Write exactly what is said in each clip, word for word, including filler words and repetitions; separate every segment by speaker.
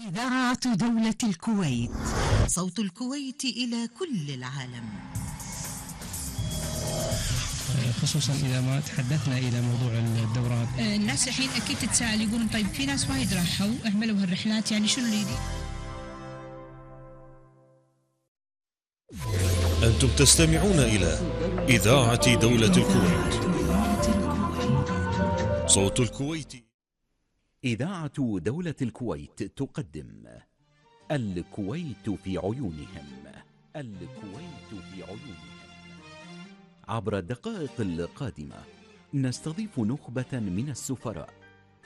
Speaker 1: إذاعة دولة الكويت، صوت الكويت إلى كل العالم.
Speaker 2: خصوصا إذا ما تحدثنا إلى موضوع الدورات،
Speaker 3: الناس الحين أكيد تتساءل، يقولون طيب في ناس وايد راحوا أهملوا هالرحلات، يعني شنو اللي يدي؟
Speaker 4: أنتم تستمعون إلى إذاعة دولة الكويت، صوت الكويت.
Speaker 5: إذاعة دولة الكويت تقدم الكويت في عيونهم. الكويت في عيونهم. عبر الدقائق القادمة نستضيف نخبة من السفراء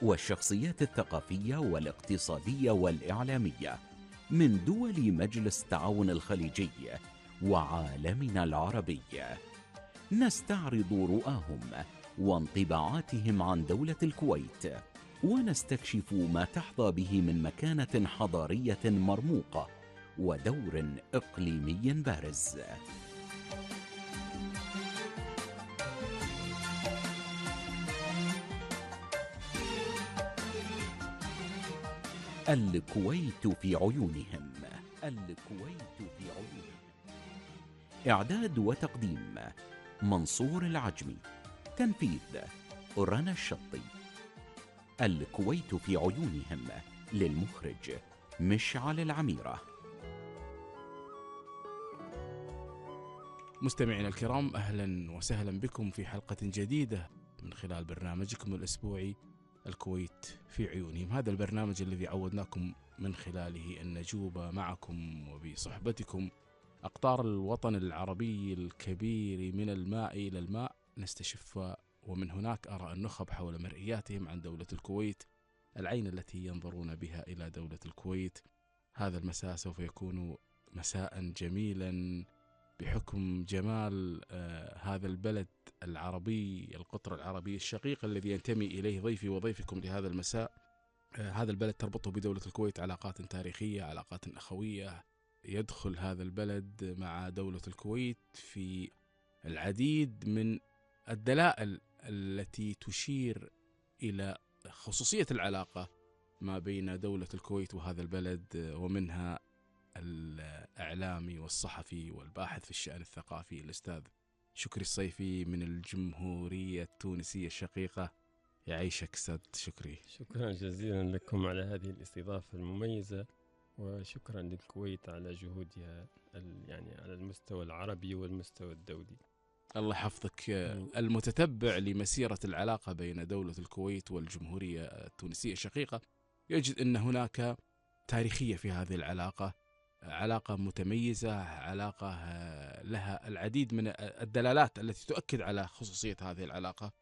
Speaker 5: والشخصيات الثقافية والاقتصادية والإعلامية من دول مجلس التعاون الخليجي وعالمنا العربي. نستعرض رؤاهم وانطباعاتهم عن دولة الكويت، ونستكشف ما تحظى به من مكانة حضارية مرموقة ودور إقليمي بارز. الكويت في عيونهم. الكويت في عيونهم. إعداد وتقديم منصور العجمي. تنفيذ رنا الشطي. الكويت في عيونهم للمخرج مشعل العميرة.
Speaker 6: مستمعينا الكرام، أهلا وسهلا بكم في حلقة جديدة من خلال برنامجكم الأسبوعي الكويت في عيونهم. هذا البرنامج الذي عودناكم من خلاله أن نجوب معكم وبصحبتكم أقطار الوطن العربي الكبير من الماء إلى الماء، نستشف ومن هناك أرى النخب حول مرئياتهم عن دولة الكويت، العين التي ينظرون بها إلى دولة الكويت. هذا المساء سوف يكون مساء جميلا بحكم جمال آه هذا البلد العربي، القطر العربي الشقيق الذي ينتمي إليه ضيفي وضيفكم لهذا المساء. آه هذا البلد تربطه بدولة الكويت علاقات تاريخية، علاقات أخوية. يدخل هذا البلد مع دولة الكويت في العديد من الدلائل التي تشير إلى خصوصية العلاقة ما بين دولة الكويت وهذا البلد، ومنها الإعلامي والصحفي والباحث في الشأن الثقافي الأستاذ شكري الصيفي من الجمهورية التونسية الشقيقة. يعيشك أستاذ شكري.
Speaker 7: شكرا جزيلا لكم على هذه الاستضافة المميزة، وشكرا للكويت على جهودها يعني على المستوى العربي والمستوى الدولي.
Speaker 6: الله يحفظك. المتتبع لمسيرة العلاقة بين دولة الكويت والجمهورية التونسية الشقيقة يجد أن هناك تاريخية في هذه العلاقة، علاقة متميزة، علاقة لها العديد من الدلالات التي تؤكد على خصوصية هذه العلاقة.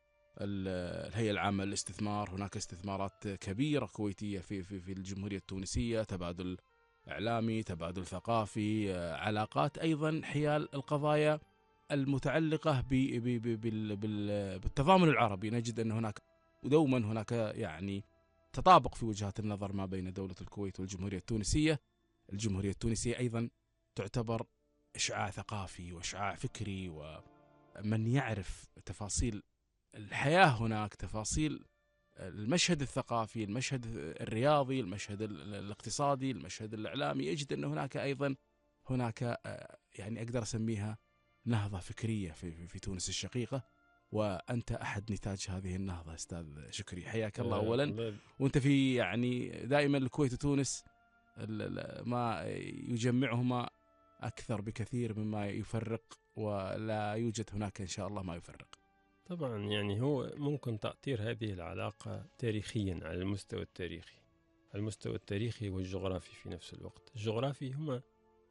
Speaker 6: الهيئة العامة للاستثمار، هناك استثمارات كبيرة كويتية في في في الجمهورية التونسية، تبادل إعلامي، تبادل ثقافي، علاقات أيضا حيال القضايا المتعلقة بالتضامن العربي. نجد أن هناك ودوما هناك يعني تطابق في وجهات النظر ما بين دولة الكويت والجمهورية التونسية. الجمهورية التونسية أيضا تعتبر إشعاع ثقافي وإشعاع فكري، ومن يعرف تفاصيل الحياة هناك، تفاصيل المشهد الثقافي، المشهد الرياضي، المشهد الاقتصادي، المشهد الإعلامي، يجد أن هناك أيضا هناك يعني أقدر أسميها نهضة فكرية في, في تونس الشقيقة، وأنت أحد نتاج هذه النهضة أستاذ شكري. حياك الله أولا. وأنت في يعني دائما الكويت وتونس ما يجمعهما أكثر بكثير مما يفرق، ولا يوجد هناك إن شاء الله ما يفرق.
Speaker 7: طبعا يعني هو ممكن تأطير هذه العلاقة تاريخيا على المستوى التاريخي، المستوى التاريخي والجغرافي في نفس الوقت. الجغرافي هما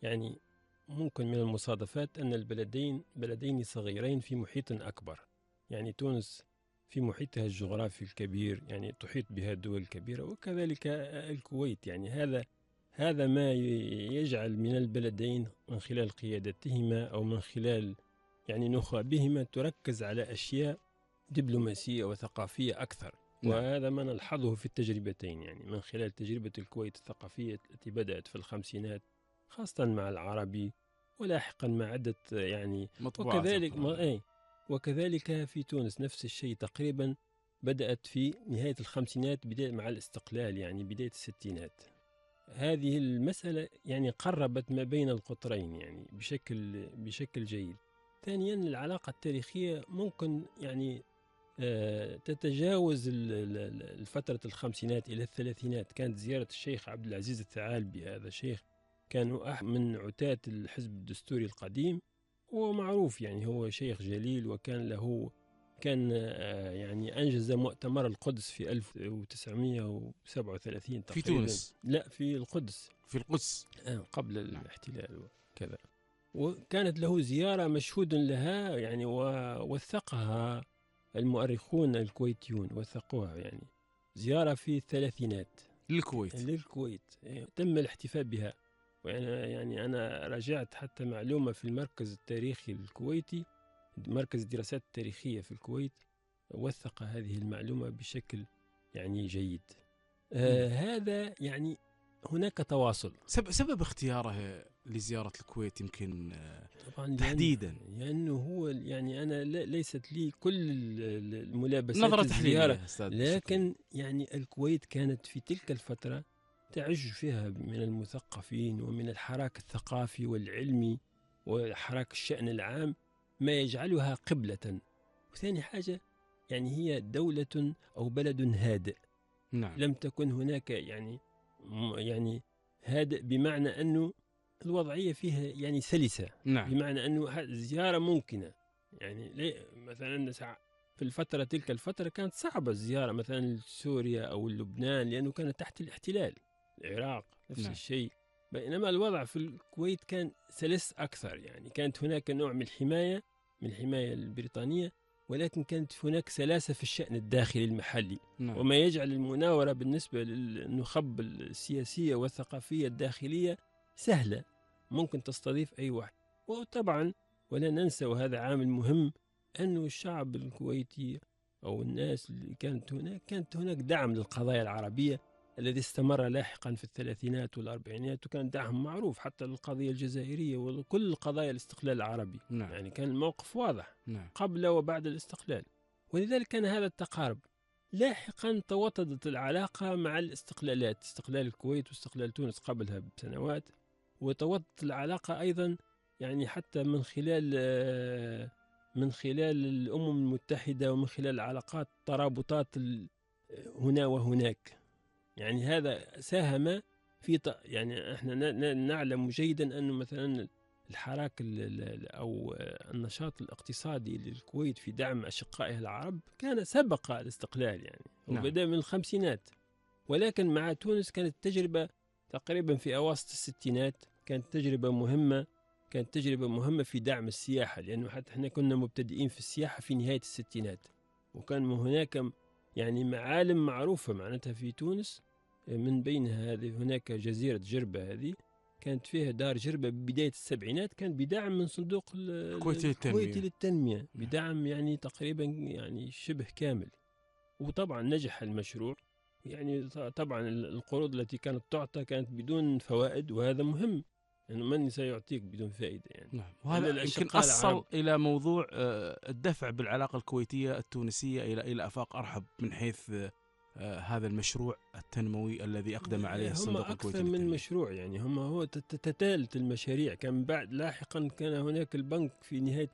Speaker 7: يعني ممكن من المصادفات أن البلدين بلدين صغيرين في محيط أكبر. يعني تونس في محيطها الجغرافي الكبير، يعني تحيط بها الدول الكبيرة، وكذلك الكويت. يعني هذا هذا ما يجعل من البلدين من خلال قيادتهما أو من خلال يعني نخبهما تركز على أشياء دبلوماسية وثقافية أكثر. نعم. وهذا ما نلحظه في التجربتين، يعني من خلال تجربة الكويت الثقافية التي بدأت في الخمسينات خاصة مع العربي، ولاحقا مع عدة يعني وكذلك ما أي وكذلك في تونس نفس الشيء تقريبا، بدأت في نهاية الخمسينات بداية مع الاستقلال، يعني بداية الستينات. هذه المسألة يعني قربت ما بين القطرين يعني بشكل بشكل جيد. ثانيا العلاقة التاريخية ممكن يعني تتجاوز الفترة الخمسينات إلى الثلاثينات. كانت زيارة الشيخ عبد العزيز الثعالبي، هذا شيخ كان من عتاة الحزب الدستوري القديم، ومعروف يعني هو شيخ جليل، وكان له كان يعني أنجز مؤتمر القدس في ألف وتسعمائة وسبعة وثلاثين
Speaker 6: في تونس.
Speaker 7: لا في القدس
Speaker 6: في القدس
Speaker 7: قبل الاحتلال وكذا. وكانت له زيارة مشهود لها يعني، ووثقها المؤرخون الكويتيون، وثقوها يعني زيارة في الثلاثينات
Speaker 6: للكويت
Speaker 7: للكويت تم الاحتفاء بها. ويعني يعني أنا راجعت حتى معلومة في المركز التاريخي الكويتي، مركز الدراسات التاريخية في الكويت، وثق هذه المعلومة بشكل يعني جيد. آه هذا يعني هناك تواصل.
Speaker 6: سبب اختياره لزيارة الكويت يمكن
Speaker 7: طبعا
Speaker 6: تحديدا
Speaker 7: لأنه هو يعني أنا ليست لي كل الملابسات
Speaker 6: نظرة
Speaker 7: الزيارة،
Speaker 6: تحليلية،
Speaker 7: لكن يعني الكويت كانت في تلك الفترة تعج فيها من المثقفين ومن الحراك الثقافي والعلمي وحراك الشأن العام ما يجعلها قبلة. وثاني حاجة يعني هي دولة أو بلد هادئ.
Speaker 6: نعم.
Speaker 7: لم تكن هناك يعني يعني هادئ بمعنى أنه الوضعية فيها يعني سلسة.
Speaker 6: نعم.
Speaker 7: بمعنى أنه الزيارة ممكنة يعني. مثلا في الفترة تلك الفترة كانت صعبة الزيارة مثلا لسوريا أو لبنان لأنه كانت تحت الاحتلال، العراق نفس
Speaker 6: نعم.
Speaker 7: الشيء. بينما الوضع في الكويت كان سلس أكثر، يعني كانت هناك نوع من الحماية من الحماية البريطانية، ولكن كانت هناك سلاسة في الشأن الداخلي المحلي.
Speaker 6: نعم.
Speaker 7: وما يجعل المناورة بالنسبة للنخب السياسية والثقافية الداخلية سهلة، ممكن تستضيف أي واحد. وطبعا ولا ننسى، وهذا عامل مهم، أنه الشعب الكويتي أو الناس اللي كانت هناك كانت هناك دعم للقضايا العربية الذي استمر لاحقا في الثلاثينات والأربعينات، وكان دعم معروف حتى للقضية الجزائرية وكل قضايا الاستقلال العربي.
Speaker 6: نعم.
Speaker 7: يعني كان الموقف واضح.
Speaker 6: نعم.
Speaker 7: قبل وبعد الاستقلال، ولذلك كان هذا التقارب. لاحقا توطدت العلاقة مع الاستقلالات، استقلال الكويت واستقلال تونس قبلها بسنوات، وتوطدت العلاقة أيضا يعني حتى من خلال من خلال الأمم المتحدة ومن خلال العلاقات ترابطات هنا وهناك. يعني هذا ساهم في يعني احنا نعلم جيدا أنه مثلا الحراك أو النشاط الاقتصادي للكويت في دعم أشقائها العرب كان سبق الاستقلال يعني.
Speaker 6: نعم.
Speaker 7: وبدأ من الخمسينات، ولكن مع تونس كانت تجربة تقريبا في أواسط الستينات، كانت تجربة مهمة كانت تجربة مهمة في دعم السياحة، لأنه حتى احنا كنا مبتدئين في السياحة في نهاية الستينات، وكان هناك يعني معالم معروفة معناتها في تونس، من بينها هذه هناك جزيرة جربة، هذه كانت فيها دار جربة ببداية السبعينات، كان بدعم من صندوق
Speaker 6: الكويتي
Speaker 7: للتنمية, للتنمية بدعم يعني تقريبا يعني شبه كامل. وطبعا نجح المشروع يعني. طبعا القروض التي كانت تعطى كانت بدون فوائد، وهذا مهم، يعني من سيعطيك بدون فائدة يعني.
Speaker 6: نعم. وهذا يمكن أصل العرب. إلى موضوع الدفع بالعلاقة الكويتية التونسية إلى إلى آفاق أرحب من حيث هذا المشروع التنموي الذي أقدم عليه الصندوق الكويتي
Speaker 7: هم أكثر من مشروع يعني. هم هو تتالت المشاريع. كان بعد لاحقا كان هناك البنك في نهاية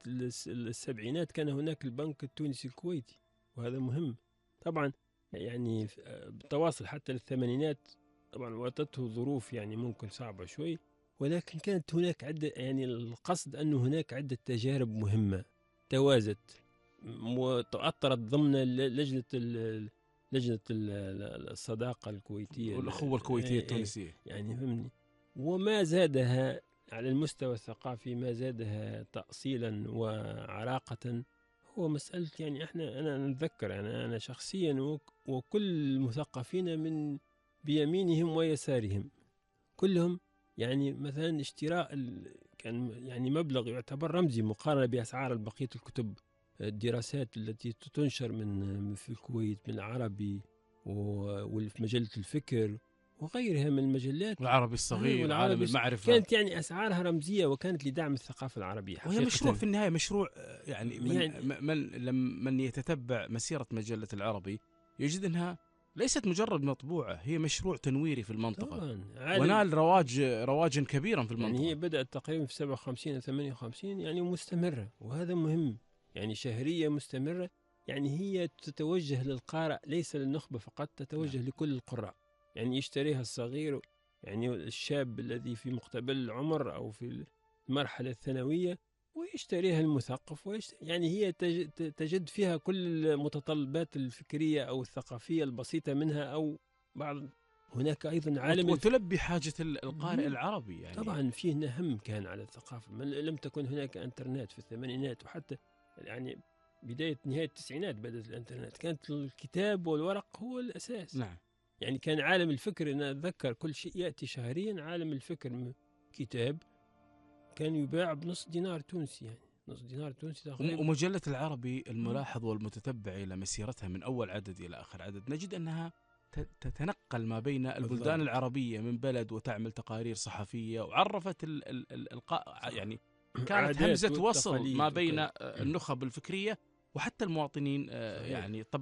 Speaker 7: السبعينات، كان هناك البنك التونسي الكويتي، وهذا مهم طبعا يعني. بالتواصل حتى للثمانينات طبعا واتته ظروف يعني ممكن صعبة شوي، ولكن كانت هناك عدة يعني القصد أنه هناك عدة تجارب مهمة توازت وتأطرت ضمن لجنة لجنة الصداقة الكويتية
Speaker 6: والأخوة الكويتية التونسية
Speaker 7: يعني فهمني. وما زادها على المستوى الثقافي، ما زادها تأصيلا وعراقة، هو مسألة يعني احنا أنا نتذكر يعني أنا شخصيا وكل المثقفين من بيمينهم ويسارهم كلهم يعني مثلا اشتراء كان يعني مبلغ يعتبر رمزي مقارنة بأسعار بقية الكتب الدراسات التي تنشر من في الكويت من العربي وفي مجلة الفكر وغيرها من المجلات،
Speaker 6: والعربي الصغير والعالم المعرفة،
Speaker 7: كانت يعني أسعارها رمزية وكانت لدعم الثقافة العربية.
Speaker 6: وهي مشروع في النهاية مشروع يعني من, يعني من, من يتتبع مسيرة مجلة العربي يجد أنها ليست مجرد مطبوعة، هي مشروع تنويري في المنطقة
Speaker 7: طبعا
Speaker 6: ونال رواج رواجا كبيرا في المنطقة.
Speaker 7: يعني هي بدأت تقريبا في سبعة وخمسين أو ثمانية وخمسين يعني مستمرة، وهذا مهم، يعني شهرية مستمرة، يعني هي تتوجه للقارئ ليس للنخبة فقط، تتوجه نعم. لكل القراء، يعني يشتريها الصغير، يعني الشاب الذي في مقتبل العمر أو في المرحلة الثانوية، ويشتريها المثقف، ويشتري يعني هي تجد فيها كل المتطلبات الفكرية أو الثقافية البسيطة منها، أو بعض هناك أيضا عالم
Speaker 6: وتلبي حاجة القارئ العربي. يعني
Speaker 7: طبعا فيه نهم كان على الثقافة، لم تكن هناك انترنت في الثمانينات، وحتى يعني بداية نهاية التسعينات بدأت الانترنت، كانت الكتاب والورق هو الأساس.
Speaker 6: نعم.
Speaker 7: يعني كان عالم الفكر، أنا أتذكر كل شيء يأتي شهريا عالم الفكر كتاب كان يباع بنص دينار تونسي، يعني نص دينار تونسي تقريبا.
Speaker 6: ومجلة العربي الملاحظ والمتتبع إلى مسيرتها من أول عدد إلى آخر عدد، نجد أنها تتنقل ما بين البلدان بالضبط. العربية من بلد، وتعمل تقارير صحفية، وعرفت ال ال الإلقاء، يعني كانت همزة وصل ما بين النخب الفكرية وحتى المواطنين، يعني الطبقة